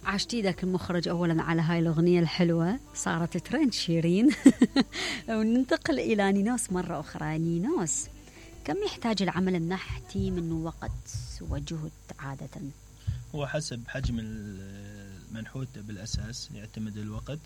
عشت ايدك المخرج اولا على هاي الاغنيه الحلوه، صارت ترند شيرين. وننتقل الى نينوس مره اخرى. نينوس، كم يحتاج العمل النحتي من وقت وجهد عاده؟ هو حسب حجم المنحوت بالاساس يعتمد الوقت.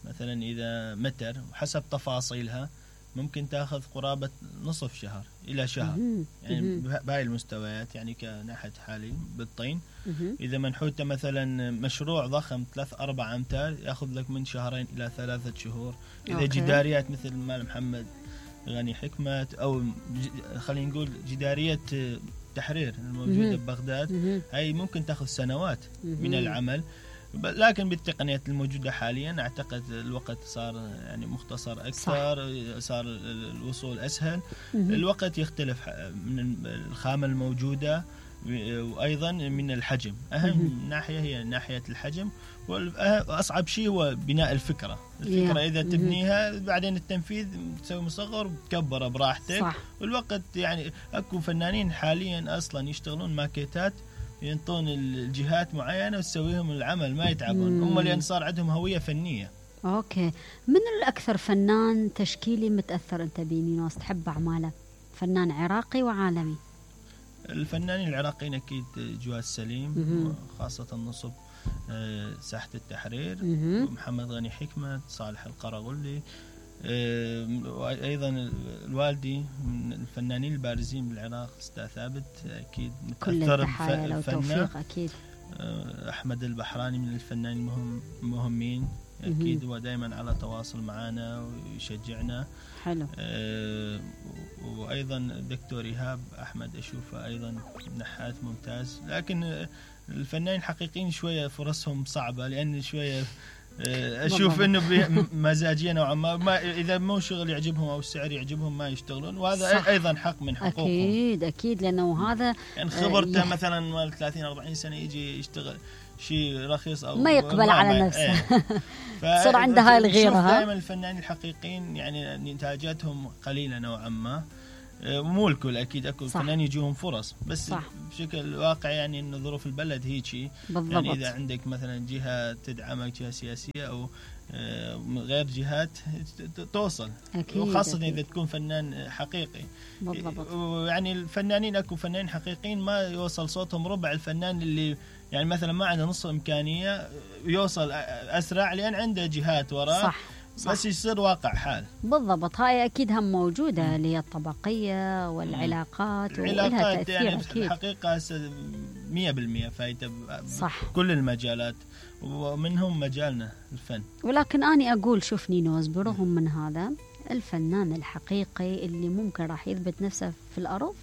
مثلا اذا متر وحسب تفاصيلها ممكن تاخذ قرابه نصف شهر الى شهر، يعني بهاي المستويات، يعني كنحت حالي بالطين. اذا منحوته مثلا مشروع ضخم 3-4 امتار ياخذ لك من 2 إلى 3 شهور. اذا جداريات مثل مال محمد غني حكمة او خلينا نقول جداريه تحرير الموجوده ببغداد، هاي ممكن تاخذ سنوات من العمل. لكن بالتقنيات الموجودة حاليا أعتقد الوقت صار يعني مختصر أكثر، صار الوصول أسهل. الوقت يختلف من الخامة الموجودة وأيضا من الحجم. أهم ناحية هي ناحية الحجم، وأصعب شيء هو بناء الفكرة. إذا تبنيها بعدين التنفيذ تسوي مصغر وتكبره براحتك. والوقت يعني أكو فنانين حاليا أصلا يشتغلون ماكيتات، ينطون الجهات معينة وتسويهم العمل، ما يتعبون هم، لأن صار عندهم هوية فنية. أوكي، من الأكثر فنان تشكيلي متأثر أنت بنينوس تحب أعماله؟ فنان عراقي وعالمي. الفنانين العراقيين أكيد جواد سليم، خاصة نصب ساحة التحرير، ومحمد غني حكمة، صالح القرغلي. وأيضا الوالدي من الفنانين البارزين بالعراق، أستاذ ثابت أكيد متأثر بفنه. أكيد. أحمد البحراني من الفنانين المهمين أكيد، هو دائما على تواصل معنا ويشجعنا. حلو. وأيضا الدكتور إيهاب أحمد أشوفه أيضا نحات ممتاز. لكن الفنانين الحقيقيين شوية فرصهم صعبة، لأن شوية أشوف إنه مزاجية نوعا ما إذا مو شغل يعجبهم أو السعر يعجبهم ما يشتغلون، وهذا أيضا حق من حقوقهم. أكيد لأنه هذا يعني خبرته مثلا مال 30-40 سنة يجي يشتغل شيء رخيص أو ما يقبل على نفسه. صار عنده هاي الغيرة. دائما الفنانين الحقيقيين يعني إنتاجاتهم قليلة نوعا ما، مو الكل أكيد، أكو فنان يجيهم فرص، بس بشكل واقع يعني إن ظروف البلد هيك. يعني إذا عندك مثلا جهة تدعمك، جهة سياسية أو غير جهات، توصل. وخاصة إذا تكون فنان حقيقي. بالضبط. يعني الفنانين أكو فنانين حقيقيين ما يوصل صوتهم ربع الفنان اللي يعني مثلا ما عنده نص إمكانية، يوصل أسرع لأن عنده جهات وراه. بس يصير واقع حال. بالضبط. هاي أكيد هم موجودة، اللي هي الطبقية والعلاقات ولها تأثير. يعني أكيد. الحقيقة 100% فايدة كل المجالات، ومنهم مجالنا الفن. ولكن أنا أقول شوف نينوس، برغم من هذا الفنان الحقيقي اللي ممكن راح يثبت نفسه في الأرض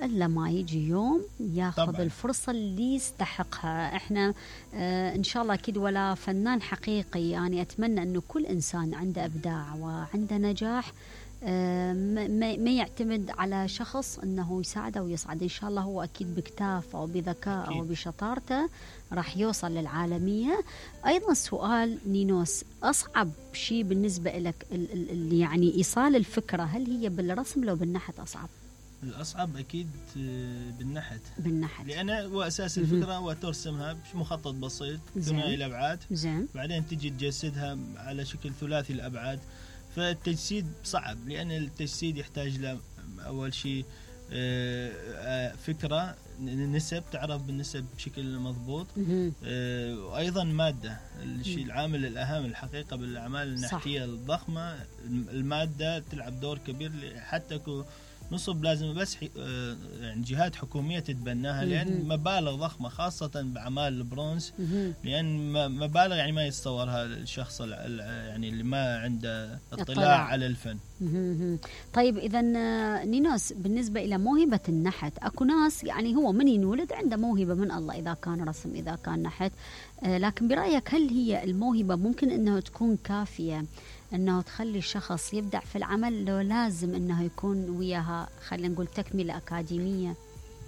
إلا ما يجي يوم ياخذ طبعاً الفرصة اللي يستحقها. إحنا إن شاء الله أكيد ولا فنان حقيقي، يعني أتمنى أنه كل إنسان عنده إبداع وعنده نجاح ما يعتمد على شخص أنه يساعده ويصعد. إن شاء الله هو أكيد بكتافه أو بذكاء أو بشطارته راح يوصل للعالمية. أيضا سؤال نينوس، أصعب شيء بالنسبة لك اللي يعني إيصال الفكرة، هل هي بالرسم لو بالنحت أصعب؟ الأصعب أكيد بالنحت. لأن هو أساس الفكرة هو ترسمها بمخطط بسيط ثنائي الأبعاد، بعدين تجي تجسدها على شكل ثلاثي الأبعاد. فالتجسيد صعب، لأن التجسيد يحتاج له أول شيء فكرة، نسب، تعرف بالنسب بشكل مضبوط، وأيضا مادة. الشيء العامل الأهم الحقيقة بالأعمال النحتية الضخمة، المادة تلعب دور كبير. حتى نصب لازم بس يعني جهات حكومية تتبناها، لأن مبالغ ضخمة خاصة بأعمال البرونز، لأن مبالغ يعني ما يتصورها الشخص يعني اللي ما عنده اطلاع على الفن. طيب إذا نينوس، بالنسبة إلى موهبة النحت، أكو ناس يعني هو من ينولد عنده موهبة من الله، إذا كان رسم إذا كان نحت، لكن برأيك هل هي الموهبة ممكن أنه تكون كافية أنه تخلي الشخص يبدع في العمل، لو لازم أنه يكون وياها خلينا نقول تكملة أكاديمية؟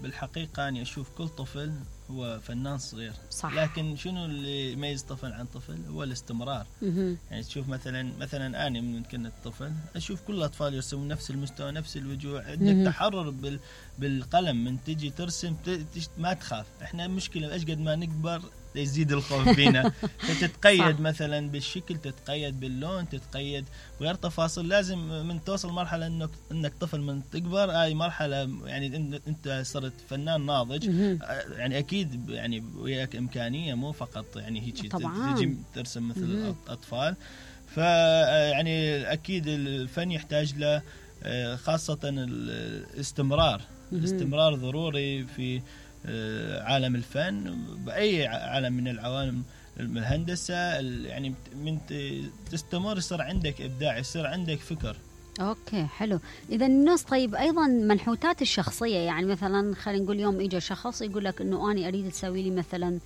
بالحقيقة أنا أشوف كل طفل هو فنان صغير. لكن شنو اللي يميز طفل عن طفل؟ هو الاستمرار. يعني تشوف مثلا أنا من كنت طفل أشوف كل الأطفال يرسمون نفس المستوى، نفس الوجوه، عندك تحرر بالقلم. من تجي ترسم ما تخاف. إحنا مشكلة أشقد ما نكبر يزيد الخوف فينا. فتتقيد مثلا بالشكل، تتقيد باللون، تتقيد وغير تفاصيل. لازم من توصل مرحله انك طفل من تكبر، هاي مرحله يعني انت صرت فنان ناضج. يعني اكيد يعني وياك امكانيه، مو فقط يعني هيك تجي ترسم مثل الاطفال. فيعني اكيد الفن يحتاج له خاصه الاستمرار. الاستمرار ضروري في عالم الفن، باي عالم من العوالم. الهندسه يعني من تستمر يصير عندك ابداع، يصير عندك فكر. اوكي حلو. اذا الناس طيب ايضا منحوتات الشخصيه، يعني مثلا خلينا نقول يوم اجى شخص يقول لك انه انا اريد تسوي لي مثلا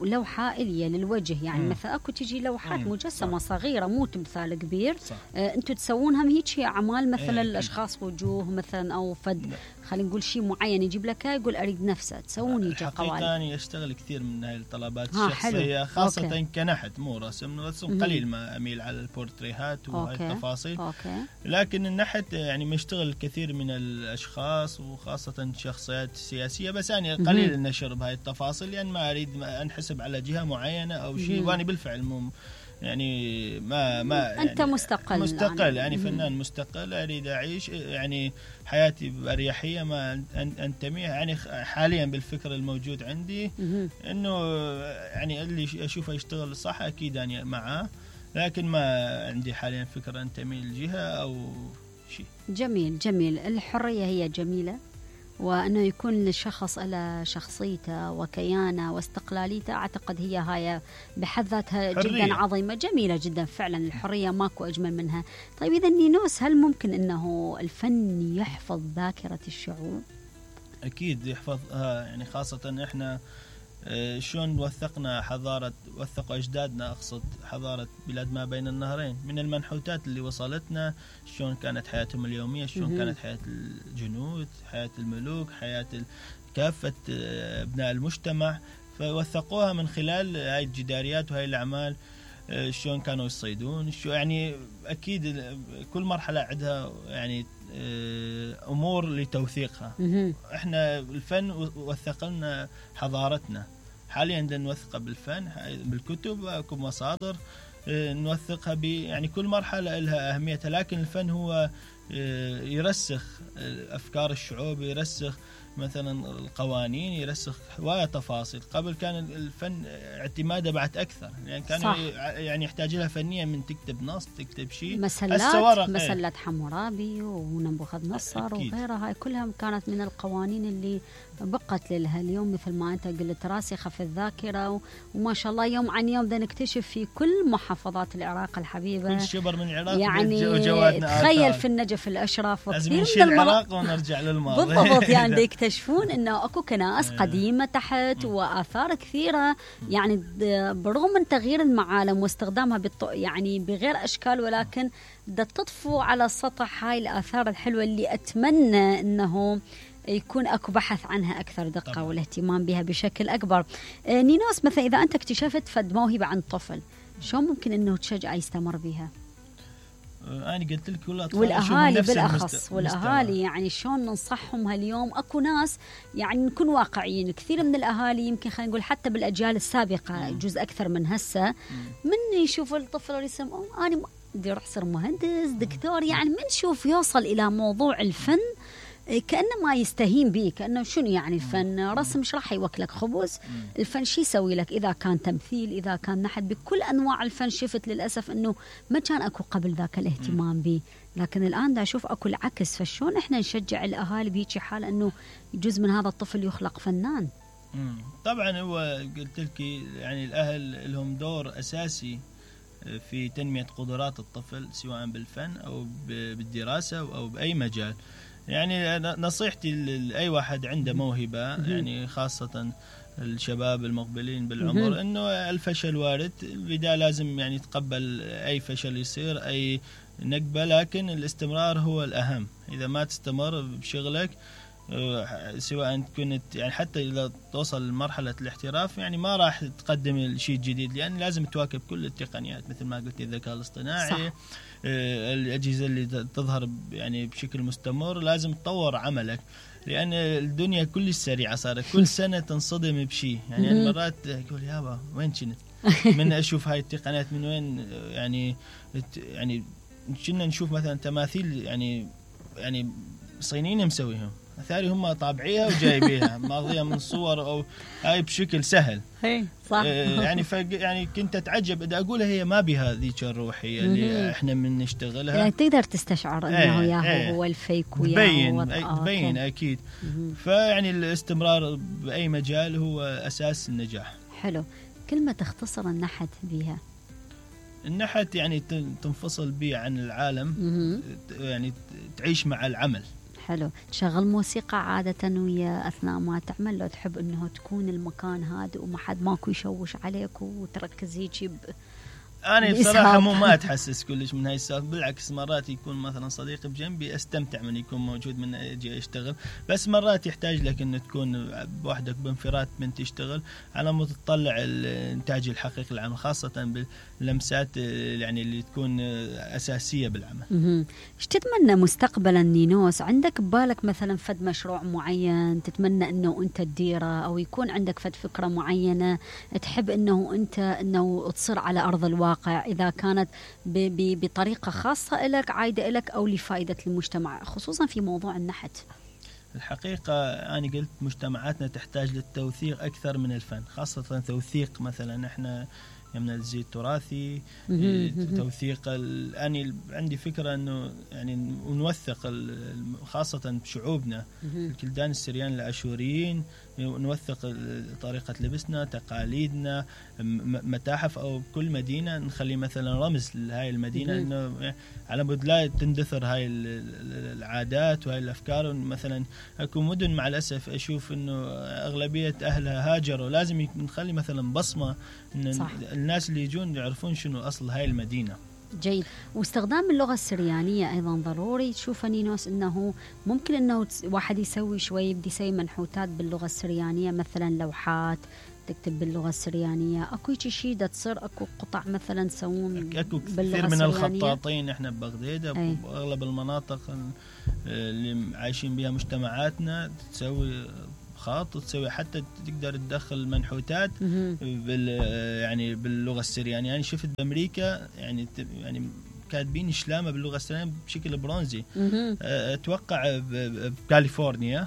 لوحة إلية للوجه، يعني مثلا أكو تجي لوحات مجسمة صغيرة، مو تمثال كبير. أنتوا تسوونها هيك أعمال مثلا الأشخاص وجوه مثلا أو خلينا نقول شيء معين، يجيب لك يقول أريد نفسه تسوون هيك قوالب. الحقيقة أنا أشتغل كثير من هاي الطلبات الشخصية، خاصة أوكي. كنحت مو رسم قليل ما أميل على البورتريهات وهاي التفاصيل. لكن النحت يعني مشتغل كثير من الأشخاص وخاصة شخصيات سياسية، بس أنا قليل النشر بهاي التفاصيل، لأن يعني ما أريد أنحسب على جهة معينة أو شيء، وأنا بالفعل يعني ما يعني أنت مستقل يعني فنان مستقل، أريد أعيش يعني حياتي بأريحية، ما أنتمي يعني حاليا بالفكر الموجود عندي إنه يعني اللي أشوفه يشتغل صح أكيد يعني معاه، لكن ما عندي حاليا فكرة أنتمي لجهة أو شيء. جميل جميل. الحرية هي جميلة، وأنه يكون للشخص على شخصيته وكيانه واستقلاليته، أعتقد هي هاي بحد ذاتها جدا عظيمة، جميلة جدا فعلا. الحرية ماكو أجمل منها. طيب إذا نينوس، هل ممكن أنه الفن يحفظ ذاكرة الشعوب؟ أكيد يحفظها، يعني خاصة إحنا شلون وثقوا أجدادنا، أقصد حضارة بلاد ما بين النهرين، من المنحوتات اللي وصلتنا، شلون كانت حياتهم اليومية، شلون كانت حياة الجنود، حياة الملوك، حياة كافة أبناء المجتمع، فوثقوها من خلال هاي الجداريات وهاي الأعمال. شلون كانوا يصيدون، شو يعني أكيد كل مرحلة عندها يعني أمور لتوثيقها. إحنا الفن وثق لنا حضارتنا، حاليا نوثقها بالفن، بالكتب، أكو مصادر نوثقها يعني كل مرحلة لها أهميتها. لكن الفن هو يرسخ أفكار الشعوب، يرسخ مثلا القوانين، يرسخ هواية تفاصيل. قبل كان الفن اعتماده بعد أكثر، يعني كان يعني يحتاج لها فنيا من تكتب نص، تكتب شيء. مسلات حمورابي ونبوخذ نصر وغيرها، هاي كلها كانت من القوانين اللي بقت لها اليوم، مثل ما أنت قلت راسخة في الذاكرة. وما شاء الله يوم عن يوم نكتشف في كل محافظات العراق الحبيبة، كل شبر من العراق، يعني تخيل في النجف الأشرف، لازم نشيل العراق ونرجع للماضي. بالضبط. يعني يكتشفون انه اكو كنائس قديمه تحت واثار كثيره، يعني برغم من تغيير المعالم واستخدامها يعني بغير اشكال، ولكن تطفو على السطح هاي الاثار الحلوه اللي اتمنى انه يكون اكو بحث عنها اكثر دقه طبعا. والاهتمام بها بشكل اكبر. نينوس، مثلا اذا انت اكتشفت فد موهبه عند طفل، شو ممكن انه تشجعه يستمر بها؟ أنا قلت لك والأهالي بالأخص، والأهالي يعني شلون ننصحهم هاليوم؟ أكو ناس يعني نكون واقعيين، كثير من الأهالي يمكن خلينا نقول حتى بالأجيال السابقة جزء أكثر من هسه، من يشوف الطفل يسمى أنا بدي أروح أصير مهندس دكتور، يعني من شوف يوصل إلى موضوع الفن كأنه ما يستهين به، كأنه شنو يعني الفن؟ رسم مش راح يوكلك خبز. الفن شي يسوي لك؟ إذا كان تمثيل، إذا كان نحت، بكل أنواع الفن شفت للأسف أنه ما كان أكو قبل ذاك الاهتمام به، لكن الآن دا أشوف أكو العكس. فشون إحنا نشجع الأهالي بهيك حال أنه جزء من هذا الطفل يخلق فنان؟ طبعا هو قلت لك يعني الأهل لهم دور أساسي في تنمية قدرات الطفل، سواء بالفن أو بالدراسة أو بأي مجال. يعني نصيحتي لأي واحد عنده موهبة، يعني خاصة الشباب المقبلين بالعمر، إنه الفشل وارد، البداية لازم يعني يتقبل أي فشل يصير، أي نقبة، لكن الاستمرار هو الأهم. إذا ما تستمر بشغلك، سواء كنت يعني حتى إذا توصل لمرحلة الاحتراف، يعني ما راح تقدم شيء جديد، لأن لازم تواكب كل التقنيات، مثل ما قلت الذكاء الاصطناعي، صح. الأجهزة اللي تظهر يعني بشكل مستمر، لازم تطور عملك. لأن الدنيا كلش سريعة صارت، كل سنة تنصدم بشيء. يعني أنا مرات أقول يابا وين كنت من أشوف هاي التقنيات من وين، يعني كنا نشوف مثلا تماثيل يعني صينيين مسويهم، ثاني هم طابعيها وجايبيها ماضية من صور أو هاي بشكل سهل. صح. يعني كنت أتعجب إذا أقولها هي ما بها ذيك الروحية اللي إحنا من نشتغلها. يعني تقدر تستشعر إنه ياهو هو الفيك وياهو تبين أكيد. فيعني الاستمرار بأي مجال هو أساس النجاح. حلو. كلمة تختصر النحت بها. النحت يعني تنفصل به عن العالم، يعني تعيش مع العمل. حلو. تشغل موسيقى عادة ويا أثناء ما تعمل، لو تحب أنه تكون المكان هادئ وما حد ماكو يشوش عليك وتركز هيك أنا بصراحة ما أتحسس كلش من هاي السالفة، بالعكس مرات يكون مثلا صديقي بجنبي أستمتع من يكون موجود من أجي أشتغل، بس مرات يحتاج لك أن تكون بوحدك بانفراد من تشتغل على ما تطلع الإنتاج الحقيقي للعمل، خاصة باللمسات يعني اللي تكون أساسية بالعمل. إيش تتمنى مستقبلا نينوس؟ عندك ببالك مثلا فد مشروع معين تتمنى أنه أنت تديره، أو يكون عندك فد فكرة معينة تحب أنه تصير على أرض الواقع، إذا كانت بطريقة خاصة لك عايدة لك أو لفائدة المجتمع، خصوصا في موضوع النحت؟ الحقيقة أنا قلت مجتمعاتنا تحتاج للتوثيق أكثر من الفن، خاصة توثيق مثلا إحنا يمنا الزي التراثي، توثيق أنا عندي فكرة أنه يعني نوثق خاصة بشعوبنا، الكلدان السريان العاشوريين، نوثق طريقة لبسنا، تقاليدنا، متاحف أو كل مدينة نخلي مثلا رمز لهاي المدينة، إنه على مود لا تندثر هاي العادات وهاي الأفكار. مثلا أكو مدن مع الأسف أشوف إنه أغلبية أهلها هاجروا، لازم نخلي مثلا بصمة إن الناس اللي يجون يعرفون شنو أصل هاي المدينة. جيد. واستخدام اللغة السريانية أيضا ضروري. تشوف نينوس أنه ممكن أنه واحد يسوي شوي بدي يسوي منحوتات باللغة السريانية، مثلا لوحات تكتب باللغة السريانية، أكو شيء دا تصير أكو قطع مثلا تسوون أكو كثير من الخطاطين إحنا ببغداد وأغلب المناطق اللي عايشين بها مجتمعاتنا تسوي خاط وتسوي حتى تقدر تدخل منحوتات يعني باللغة السريانية. يعني شفت بأمريكا يعني كاتبين شلامة باللغة السريانية بشكل برونزي. أتوقع بكاليفورنيا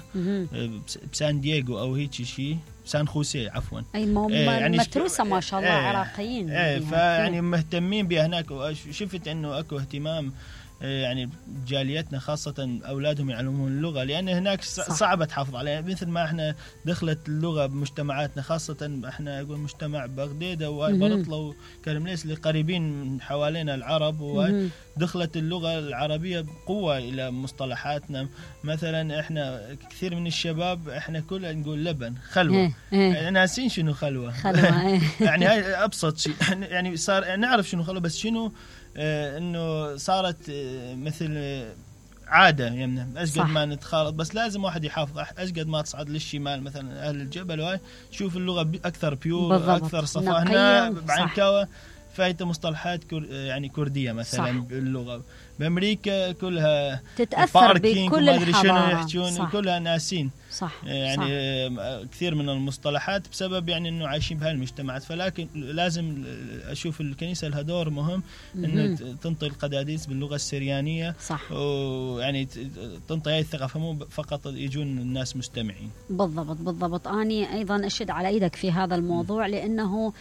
بسان دييغو أو هيك شيء، سان خوسيه عفوا، يعني متروسة ما شاء الله عراقيين فيعني مهتمين بها هناك. وشفت انه اكو اهتمام يعني جاليتنا خاصة أولادهم يعلمون اللغة، لأن هناك صعبة تحافظ عليها مثل ما احنا دخلت اللغة بمجتمعاتنا، خاصة احنا أقول مجتمع بغدادة وبرطلة وكرمليس اللي قريبين من حوالينا العرب، ودخلت اللغة العربية بقوة إلى مصطلحاتنا. مثلا احنا كثير من الشباب احنا كلنا نقول لبن خلوة، ناسين شنو خلوة. يعني هاي أبسط شيء، يعني صار نعرف شنو خلوة بس شنو انه صارت مثل عادة يمنا أشقد ما نتخالط، بس لازم واحد يحافظ أشقد ما تصعد للشمال مثلا أهل الجبل وهاي شوف اللغة أكثر بيور أكثر صفاء. هنا بعنكاوة فايت مصطلحات يعني كردية مثلا باللغة، بأمريكا كلها تتأثر بكل الحضارة، يحجون كلها ناسين صح. يعني صح. كثير من المصطلحات بسبب يعني انه عايشين بهاي المجتمعات. فلكن لازم اشوف الكنيسة لها دور مهم انه تنطي القداديس باللغة السريانية، صح. ويعني تنطي هاي الثقافة مو فقط يجون الناس مستمعين. بالضبط. أنا أيضا أشد على إيدك في هذا الموضوع، لأنه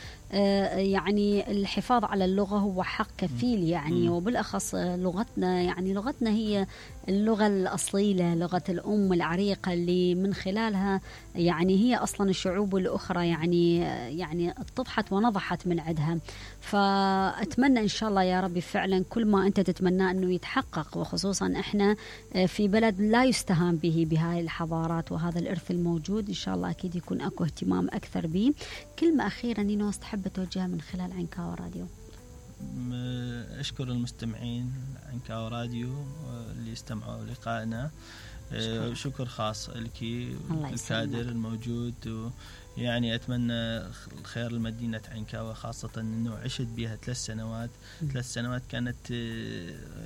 يعني الحفاظ على اللغة هو حق كفيل يعني، وبالأخص لغتنا، يعني لغتنا هي اللغة الأصيلة، لغة الأم العريقة اللي من خلالها يعني هي أصلا الشعوب الأخرى يعني اتضحت ونضحت من عدها. فأتمنى إن شاء الله يا ربي فعلا كل ما أنت تتمنى أنه يتحقق، وخصوصا إحنا في بلد لا يستهان به بهاي الحضارات وهذا الإرث الموجود. إن شاء الله أكيد يكون أكو اهتمام أكثر به. كلمة أخيرة نينوس تحب توجهها من خلال عنكاوة راديو؟ أشكر المستمعين عنكاوة راديو اللي استمعوا لقائنا. شكر خاص لك الكادر الموجود يعني أتمنى الخير لمدينة عنكاوة، خاصة أنه عشت بها 3 سنوات. 3 سنوات كانت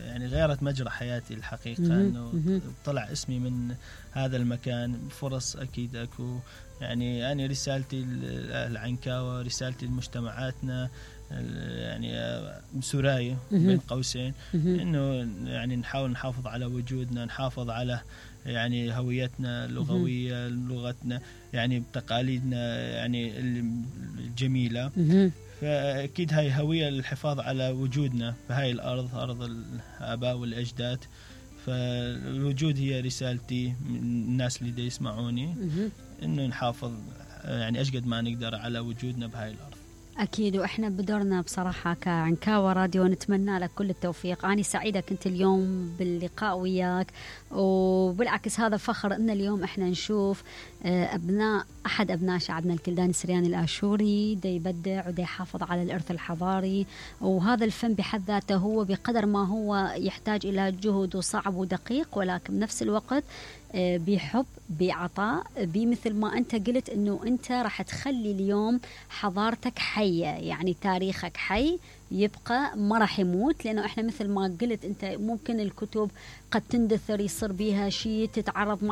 يعني غيرت مجرى حياتي الحقيقة، أنه طلع اسمي من هذا المكان. فرص أكيد أكو. يعني أنا رسالتي لعنكاوة، رسالتي لمجتمعاتنا يعني سراية بين قوسين، إنه يعني نحاول نحافظ على وجودنا، نحافظ على يعني هويتنا اللغوية، لغتنا يعني بتقاليدنا يعني الجميلة. فأكيد هاي هوية للحفاظ على وجودنا في هاي الأرض، أرض الآباء والأجداد. فالوجود هي رسالتي من الناس اللي يسمعوني، إنه نحافظ يعني أشقد ما نقدر على وجودنا بهاي الأرض. أكيد، وإحنا بدورنا بصراحة كعنكاوة راديو نتمنى لك كل التوفيق. أنا سعيدة كنت اليوم باللقاء وياك، وبالعكس هذا فخر إن اليوم إحنا نشوف أحد أبناء شعبنا الكلداني السرياني الآشوري دا يبدع ودا يحافظ على الإرث الحضاري. وهذا الفن بحد ذاته هو بقدر ما هو يحتاج إلى جهد وصعب ودقيق، ولكن بنفس الوقت بحب، بعطاء، بمثل ما أنت قلت أنه أنت راح تخلي اليوم حضارتك حية، يعني تاريخك حي يبقى ما راح يموت. لأنه إحنا مثل ما قلت أنت ممكن الكتب قد تندثر، يصير بيها شيء تتعرض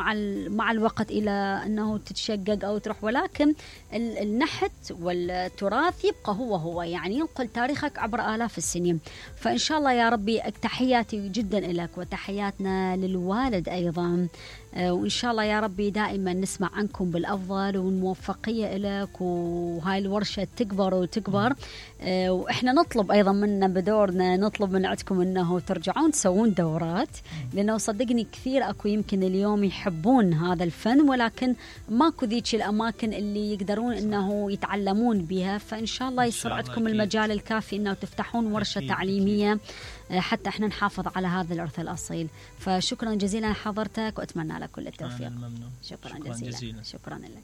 مع الوقت إلى أنه تتشقق أو تروح، ولكن النحت والتراث يبقى هو يعني ينقل تاريخك عبر آلاف السنين. فإن شاء الله يا ربي تحياتي جدا لك وتحياتنا للوالد أيضا، وإن شاء الله يا ربي دائما نسمع عنكم بالأفضل والموفقية لك، وهاي الورشة تكبر وتكبر. وإحنا نطلب أيضا منا بدورنا، نطلب من عندكم أنه ترجعون تسوون دورات، لأنه صدقني كثير أكو يمكن اليوم يحبون هذا الفن، ولكن ماكو ذيك الأماكن اللي يقدرون أنه يتعلمون بها. فإن شاء الله يصير عندكم المجال الكافي أنه تفتحون ورشة تعليمية حتى احنا نحافظ على هذا الإرث الأصيل. فشكرا جزيلا حضرتك، وأتمنى لك كل التوفيق. شكرا جزيلا. شكرا لك.